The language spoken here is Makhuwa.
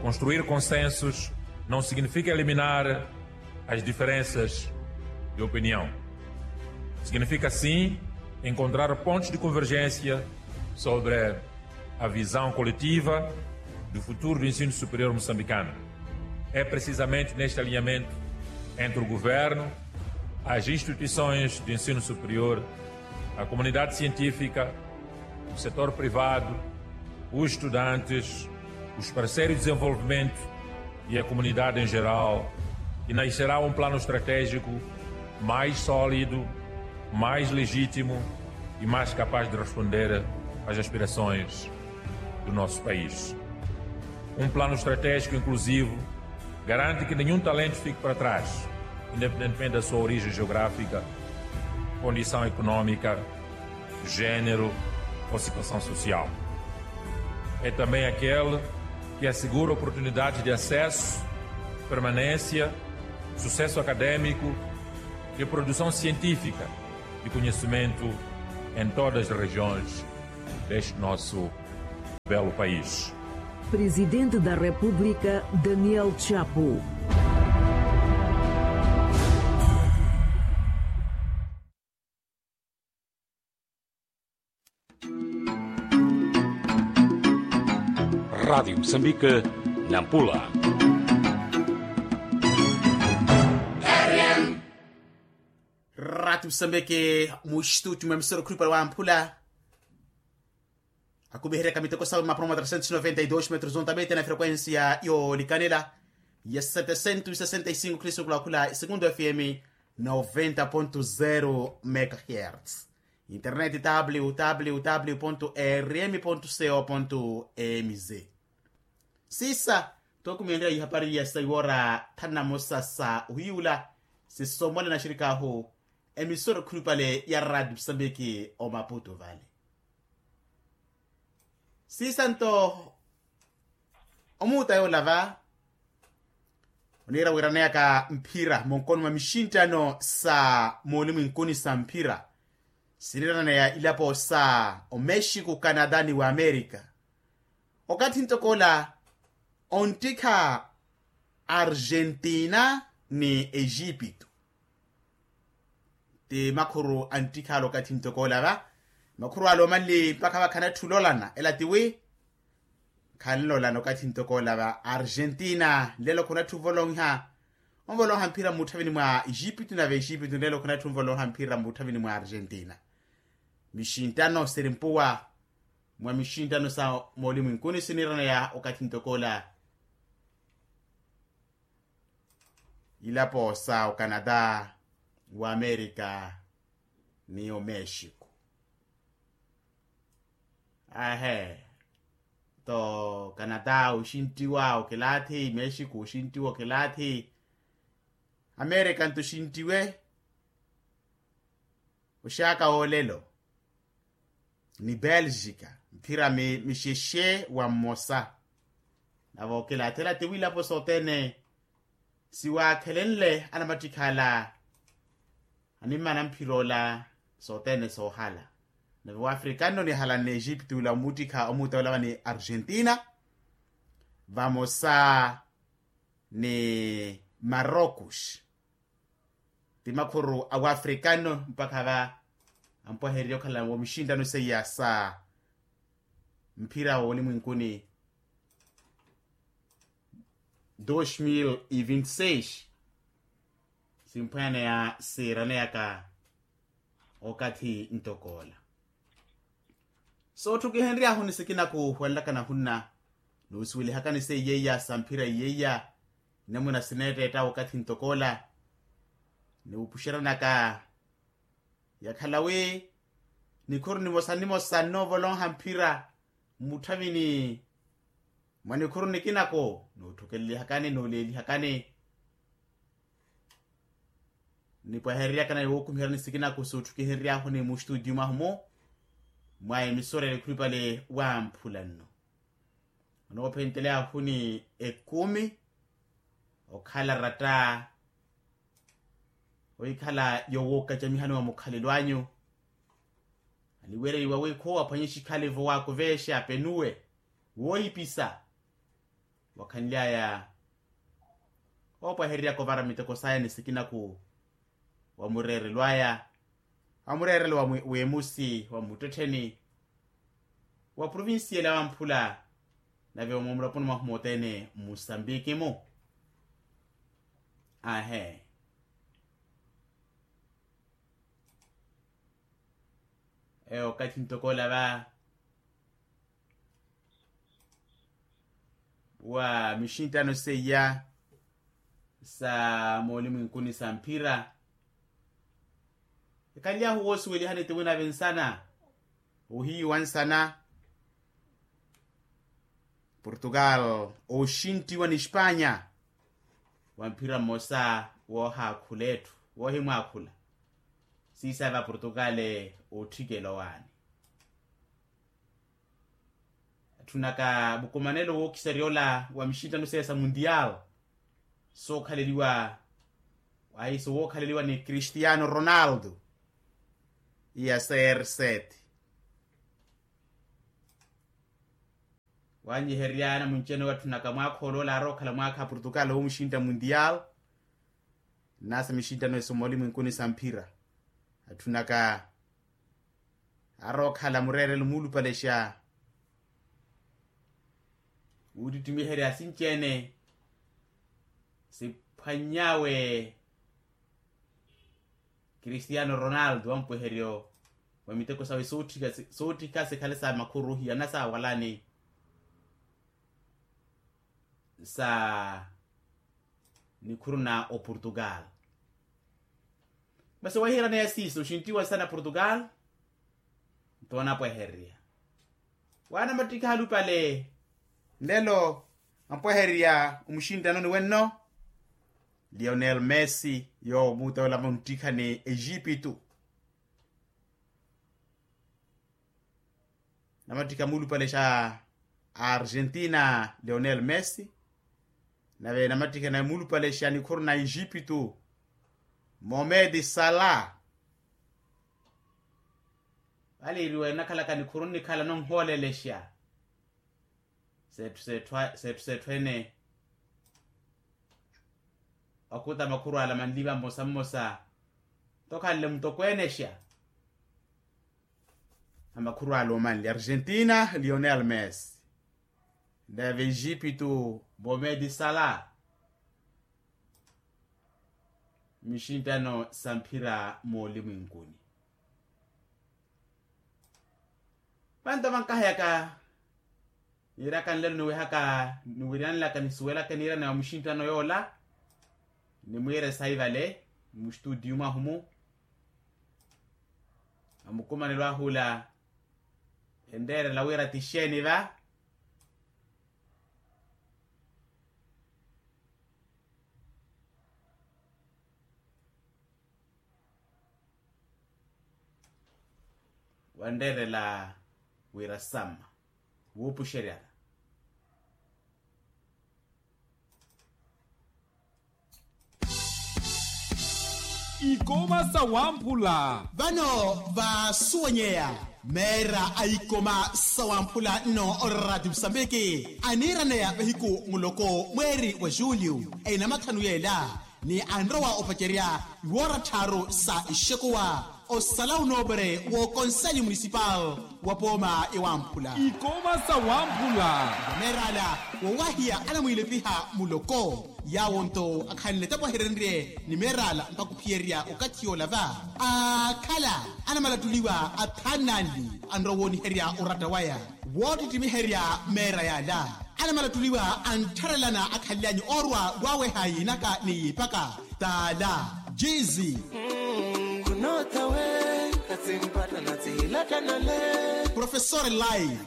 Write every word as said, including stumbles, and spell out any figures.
Construir consensos não significa eliminar as diferenças de opinião. Significa sim encontrar pontos de convergência sobre a visão coletiva do futuro do ensino superior moçambicano. É precisamente neste alinhamento entre o governo, as instituições de ensino superior, a comunidade científica, o setor privado, os estudantes, os parceiros de desenvolvimento e a comunidade em geral, que nascerá um plano estratégico mais sólido, mais legítimo e mais capaz de responder às aspirações do nosso país. Um plano estratégico inclusivo garante que nenhum talento fique para trás, independentemente da sua origem geográfica, condição econômica, género ou situação social. É também aquele que assegura oportunidades de acesso, permanência, sucesso acadêmico e produção científica de conhecimento em todas as regiões deste nosso belo país. Presidente da República, Daniel Chapo. Rádio Moçambique, Nampula. Rádio Moçambique, mu estúdio, mwa emisora okhulupale wa Mpula. Akumiheryaka miteko sawe mapuro mwa trecentos e noventa e dois metros ontamete na frequência yoolikanela ya setecentos e sessenta e cinco kilisukula okhula Segundo F M noventa ponto zero megahertz. Internet www ponto rm ponto co ponto mz. Siisa, tookumihenrya ihapari ya saiwora thanu na mosa sa ohiyuula, sisomwale na axirik'ahu emisora okhulupale ya Rádio Moçambique omaputo vale. Siisa nto omuuta yoola va oniira wiiraneyaka mphira monkono mwa mixinttano sa moolimwinkuni sa mphira siniiraneya ilapo sa omexico, canada ni wamerika. Okathi ntoko ola onttikha argentina ni egipto. Ti makhuru anttikhala okathi ntoko ola va makhuru ala omanli mpakha vakhanatthi ololana ela tiwi. Khanlolana okathi ntoko ola va argentina nlelo khunatthu ovolonha onvolonha mphira mmutthavini mwa egipto nave egipto nlelo khunatthu onvolonha mphira mmutthavini mwa argentina. Mixinttano siri mpuwa mwa mixinttano sa moolimwinkuni siniiraneya okathi ntoko ola. Ilapo sa ocanada, wamerika ni omexico. Ahe, to canada oxinttiwa okilaathi mexico oxinttiwa okilaathi amerika nto oxinttiwe. Oxaaka woolelo ni belgica mphira mixexe wa mmosa. Navo okilaathela tiwiilapo sothene siwaakhelenle anamattikhala animma na mphira ola sothene soohala. Nave waafrikano onihalanne egipto ula omuttikha omuuta ola vani argentina vamosa ni marocos. Ti makhuru a waafrikano mpakha va ampwahererya okhala wa mixinttano seiya sa mphira woolimwinkuni dos mil e vinte e seis. Simphwananeya siiraneyaka okathi ntoko ola. Sootthukihenry'ahu ni sikina kuuhwanlaka nahunna nuusuwelihakani seiya iya sa mphira iya iya. Namuna sineetteetta okathi ntoko ola niwupuxeranaka yakhala wi nikhuru nimosa nimosa nnoovolonha mphira mmutthavini mwa nikhuru nikinako nuutthukelelihakani nuuleelihakani. Nipwahereryakana ni wookumiheryani sikinaku suutthukihereryahuni mustutio mwahu-mu mwa emisora ya nikhulupale wamphula nno. Onoophenteleyahuni ekumi okhala ratta ohikhala yowookacamihani wa mukhalelo anyu. Aniwereriwa wi khuwo aphwanye xikhalivo waakuveexa apenuwe woohipisa. Wakhanly'aya oopwehereryaka ovara miteko saya ni sikinaku wa mureerelo aya, wa mureerelo wa mwi- w'emusi wa muttettheni wa provinsiyali ya wamphula, nave omumulaponi mwahu mothene mmusambiki-mu. Ahe. Eyo okathi ntoko ola va wa mixinttano seiya sa moolimwinkuni sa mphira. Ekhanly'ahu woosuwelihani ti winave nsana ohiyuwa nsana portugal ooxinttiwa n'espanya wa mphira mmosa woohaakhula etthu woohimwaakhula. Siisaya va portugal ootthikela owaani. Atthunaka mukumanelo wookisarya ola wa mixinttano seya sa mundial sookhaleliwa ahiso wookhaleliwa ni cristiano ronaldo iya serseti. Wanyiherya namwinci-ene watthunaka mwaakha oloola aarookhala mwaakha a portugal woomuxintta mundial. Nasa mixinttano eso moolimwinkuni sa mphira atthunaka aarookhala mureerelo muulupalexa wuuttittimiherya sinci-ene siphwany'awe cristiano ronaldo wa mpweheryo wa miteko sawe sootthika sikhale sa makhuru ohiyana sa walani sa nikhuru na oportugal. Masi wahiiraneya siiso oxinttiwa nsana portugal nto anapwehererya waanamattikha alupale nlelo ampwehererya omuxinttanoni wenno lionel messi yoowo muutawela munttikha ni exipitu. Namattikha muulupale xa argentina lionel messi nave namattikha nawe muulupale xa nikhuru na exipitu momedi sala. Vale iriwe nakhalaka nikhuru nnikhala nonhoolelexa setthu setthu ene okuta makhuru ala manliva mmosa mmosa ntokhanle mutokweenexa a makhuru ala omanli argentina lionel messi nave exipitu momedi sala. Mixinttano sa mphira moolimwinkuni vanto vankaheyaka niiraka nlelo niwihaka niwiriyanelaka nisuwelaka niiraneya wa muxinttano yoola nimwiire sayi vale mustutiyu mwahu-mu. Amukumanelo ahula enreerela wira ti xeeni va wanreerela wira samma wuupuxeryana. Ikoma sa wamphula vano vaasuwenyeya meera a ikoma sa wamphula nno oraati musambiki aniiraneya vahiku muloko mweeri wa julio enamathanu yeela ni anrowa opacerya iwoora tthaaru sa ixekuwa osala unoopere w'okonseli munisipal wa pooma ya wamphula. Ikoma sa wamphula vameerala wowahiya anamwiilepiha muloko yawo nto akhanle tapwaherenrye ni meerala mpaka ophiyerya okathi yoola va akhala anamalattuliwa athaani nanli anrowa wooniherya oratta waya woottittimiherya meera yaala anamalattuliwa anttharelana akhanlyanyu oorwa waaweha yiinaka ni yiipaka taala jiizi. Khunootawe khatsimpatana tsihilattanale profesor lai